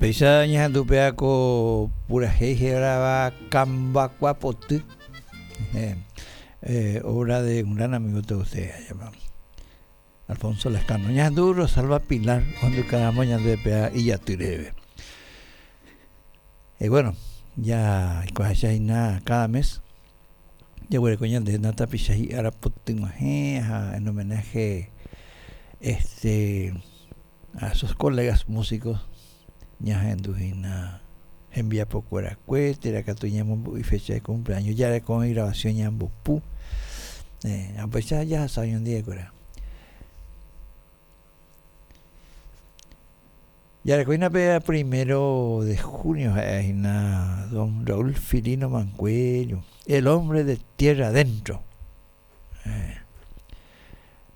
Péicha ñahendu péva ko purahéi hérava Kambakua Poty, obra de un gran amigo de ustedes, Alfonso Lescano. Ñahendu Rosalba Pilar ohendukaramo ñande péva ijaty reheve. Y bueno, ya aikuaaháicha hína cada mes jaguereko ñande tapicha hi'ára potyg̃uahẽ ha en homenaje este a sus colegas músicos ñahendu hína hembiapokuerakue térã katu ñamombe'u ifecha de cumpleaños jareko oĩ grabación ñambopu upéicha jahasa oñondivekuéra. Jareko hína pe primero de junio ha'e hína don Raúl Filino Mancuello, el hombre de tierra adentro.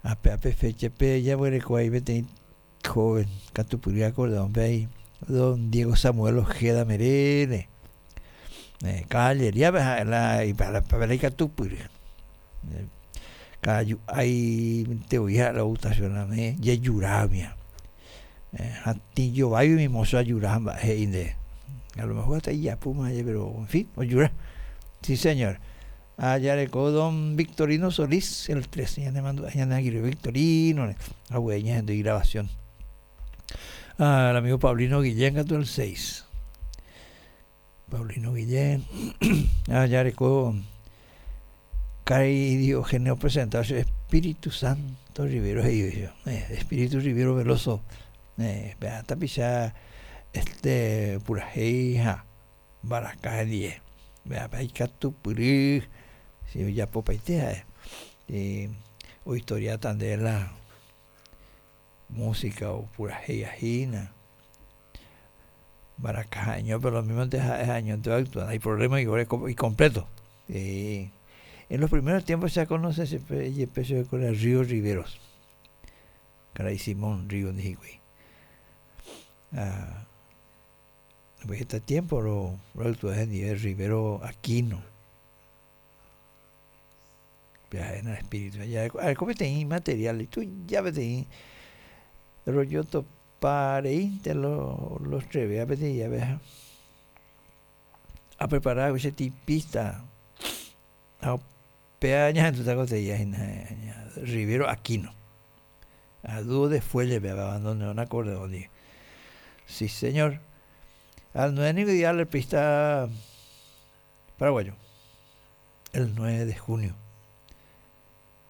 Ape ape fecha-pe jaguereko ai peteĩ joven katupyry acordeón-pe ai don Diego Samuel Ojeda Merene. Caballería-pe ha'e la ipépe ikatupyry. Ka'aju áinte voi ha'e la ogustasioname jejurámia. Hatĩ jováigui umi mozo ajura ha mba'e he'i nde. A lo mejor hasta ijapúma aje pero en fin, ojura. Sí señor. Ha jareko don Victorino Solís, el 3, ñanemandu'a ñane angirũ Victorino-re, hague ñahendu igrabación. Ah, el amigo Paulino Guillén katu el 6. Paulino Guillén, ah, jareko karai Diógenes opresenta che Espíritu Santo Rivero he'i eh, Espíritu Rivero Veloso, eh, pe tapicha este purahéi ha mbaraka hendie. Pe ikatupyry si ojapopaite ha'e. Eh, ohistoriáta nde la música opurahéiva hína. Mbaraka ha'eño, pero lo mismo ha'e ha'eñónte oactua, no hay problema icompleto. Eh, en los primeros tiempos se conoce jepe chupekuéra Río Riveros. Karai Simón Río ndi hikuái. Ah, heta tiempo roactua hendive Rivero Aquino. Pya'éna espíritu. Areko peteĩ material ituja peteĩ rojotopa reínte los treve peteĩ jave ha aprepara che tipista ha upéva ñahendúta ko teia hína Rivero Aquino. A dúo de fuelle péva bandoneón acordeón ndive. Sí señor. Al 9 niko ideal el pista paraguayo. El 9 de junio.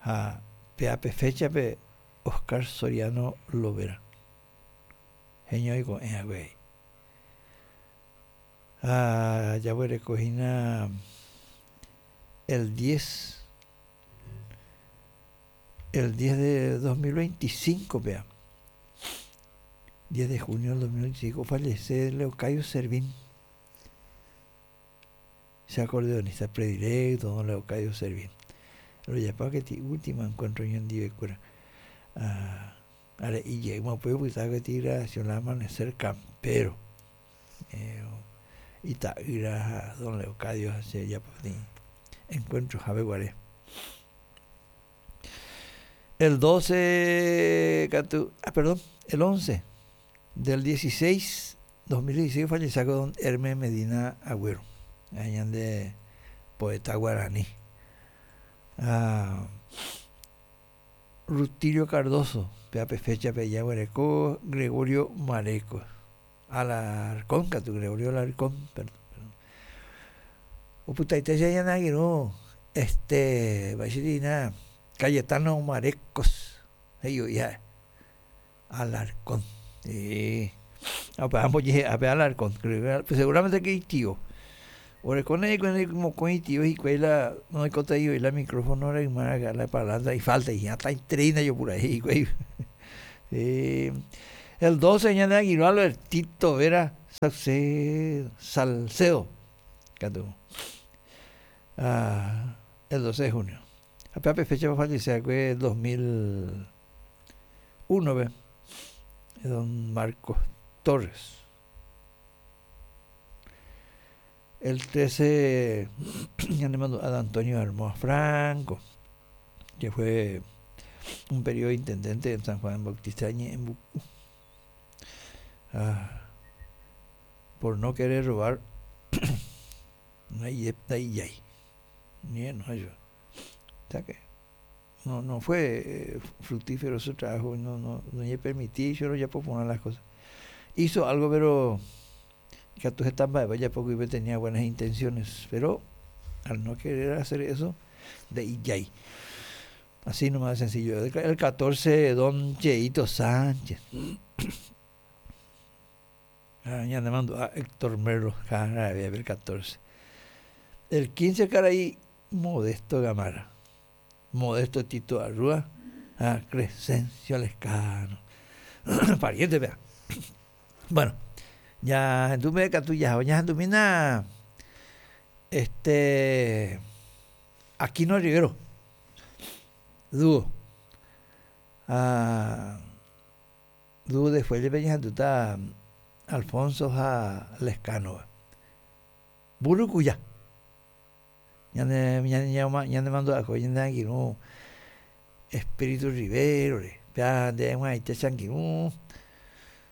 Ha péva pe féchape Oscar Soriano Lovera heñói ko'ẽ hague. Ha jaguereko hína el 10 el 10 de 2025 péva. 10 de junio del 2025 fallece Leocadio Servín. Che acordeonista predilecto, don Leocadio Servín. Rojapo keti último encuentro ñandivekuéra. Ah, are'i jeýma upéi opyta keti grabación la Amanecer Campero. Eh, ita'ýra ha don Leocadio ha che japo peteĩ encuentro jave guare. El 12 katu, ah, perdón, el 11 del 16 2016 ofallecháko don Hermes Medina Agũero, ha'e ñande poeta guarani. Ha Rutilio Cardozo, péva pe féchape jaguereko Gregorio Mareco, Alarcón katu, Gregorio Alarcón, perdón, perdón. Opytaite che ñane angirũ este mba'éicha Cayetano Marecos he'i voi ha'e. Alarcón. Eh, ha ambojehe'a pe Alarcón. Seguramente que itio. Orekóne hikuái mokõi itio hikuái la noikotevẽi voi la micrófono rayma la parlante ifalta hatãiterei ndaje opurahéi hikuái. Eh, el 12 ñande angirũ Albertito Vera Salcedo, Salcedo katu. Ah, el 12 de junio. Ha péva pe fecha ofallece va'ekue 2000 1-pe, don Marcos Torres. El 13 ñanemandu'a de Antonio Armoa Franco, que fue un periodo intendente en San Juan Bautista de Ñe'ẽmbuku. Ah. Por no querer robar ndaijái. O sea que no, no fue fructífero su trabajo, no, no, no le permití yo ya poner las cosas. Hizo algo, pero ikatu heta mba'e japo tenía buenas intenciones, pero al no querer hacer eso, ndaijái. Así nomás de sencillo. El 14, don Cheito Sánchez. Ah, ya le mando a Héctor Merlo, el 14. El 15, caray, Modesto Gamarra. Modesto Tito Arrúa, a Crescencio Lescano. Pariente, vea. Bueno, ya tú me tú ya, ya tú mina este Aquino Rivero. Dúo. Ah, dúo después le peña está Alfonso a Lescano. Burucuya. Ñane ñane ñane mando a ñane angirũ Espíritu Rivero, pe nde g̃uaite che angirũ.